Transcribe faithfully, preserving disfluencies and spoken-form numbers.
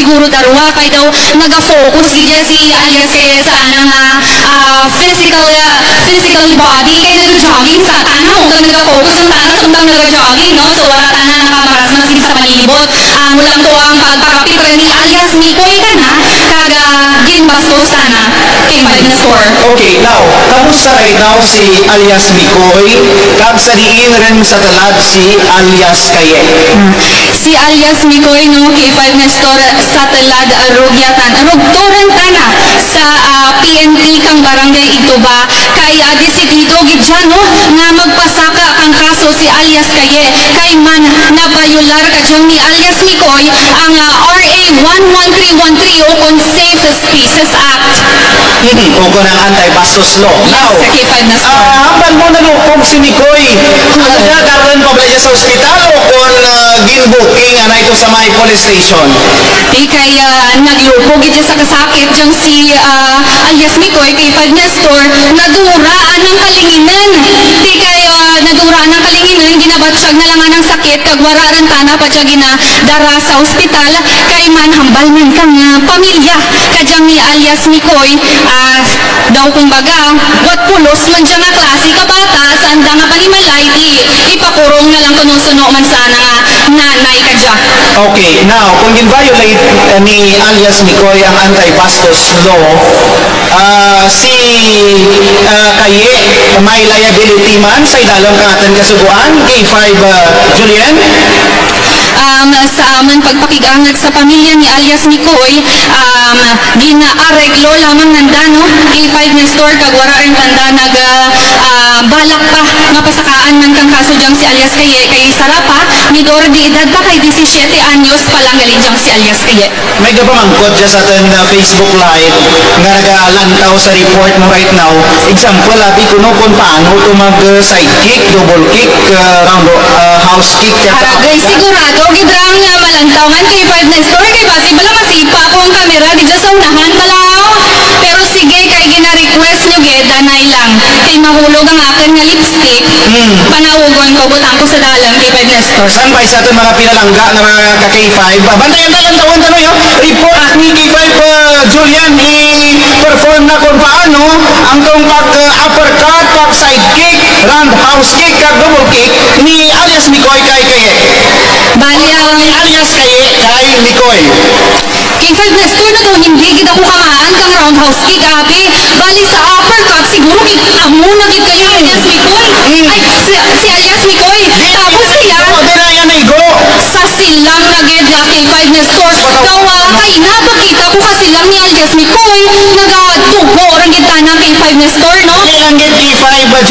siguro darwa kay daw naga-focus gid dya si alias Kaye sa ana nga, ah, physical, ah, physical body kay naga-jogging sa tana, o kay naga-focus ang tana samtang naga-jogging, no? So, wara tana nakamarasmas gid sa palibot. Amo lang to ang pagpakapit run ni alias Mikoy kana, kag, ah, ginbastos tana kay Five Nestor. Okay, now, kamusta right now si alias Mikoy, kag sa diin run sa tulad si alias Kaye? Hmm. Si alias Mikoy, no, K five Nestor, sa tulad, ah, rugyatan, rugto run tana sa, ah, P N P kang Barangay Igtuba, kay, ah, desidido gid dya, no, nga magpasaka kang kaso si alias Kaye, kay man nabayolar kadya ni alias Mikoy ang, ah, R A one one three one three ukon Safe Spaces Act. Mm, ukon ang anti-bastos law. Now, sa K five Nestor. Ah, hambal mo nalupog si Mikoy. Ano dya, darun pa bala dya sa ospital ukon, ah, gin-booking, anay to sa may police station? Ti kay, ah, naglupog gid dya sa kasakit dyang si, ah, alias Mikoy, K five Nestor, nadura ang kalinginan. Ti kay, ah, nadura ang kalinginan, ginabatsyag na lang ang sakit, kag wara run tana pa dya ginadara sa ospital, kay man hambal man kang, ah, pamilya kadyang ni alias Mikoy, ah, daw kumbaga, wara't pulos man dya nga klase ka bata, sa anda nga panimalay, ti ipakurong na lang kuno suno man sa ana nga nanay kadya. Okay, now, kon gin-violate, eh, ni alias Mikoy ang anti-bastos law, ah, si, ah, Kaye, may liability man sa idalum kang atun kasugoan, K five, ah, Julian? Um, sa amun pagpakig-angut sa pamilya ni alias Mikoy, um, gin-areglo lamang nanda, no, K five Nestor, kag wara run tanda nag, ah, balak pa nga pasakaan man kang kaso dyang si alias Kaye, kay sara pa, minor de edad pa, kay disisiete anyos pa lang gali dyang si alias Kaye. May gapamangkot dya sa atun, ah, Facebook Live nga nagalantaw sa report mo right now. Example, abi kuno kon paano to mag, ah, side kick, double kick, ah, round, ah, house kick, kag Aragay, sigurado gid ra nga malantaw man K five Nestor, kay basi bala masipa ko ang kamera gid dya sa unahan bala. Pero sige, kay gina-request nyo gid, anay lang. Kay mahulog ang akun nga lipstick, hmm, panawgon ko, butang ko sa dalum, K five Nestor. Standby sa atun mga pinalangga nga mga ka-K five. Ah, bantayan ta, lantawun ta, no, yo. Report ni K five, ah, Julian, i-perform na kon paano ang tong pag, ah, uppercut, pag side kick, roundhouse kick, kag double kick ni alias Mikoy kay Kaye. Bali, ah, ni alias Kaye kay Mikoy. K five Nestor, na daw, hindi gid ako kamaan kang roundhouse kick, abi. Bali sa uppercut, siguro gid amo na gid kay alias Mikoy. Ay, si, si alias Mikoy. Tapos kaya, oo, di na yan naigo. Sa silang na gid, ah, K five Nestor. Daw, ah, kaina pa kita ko kasilang ni alias Mikoy. Nagadugo ra gid tana K five Nestor, no? Kaya lang gid K five, ah,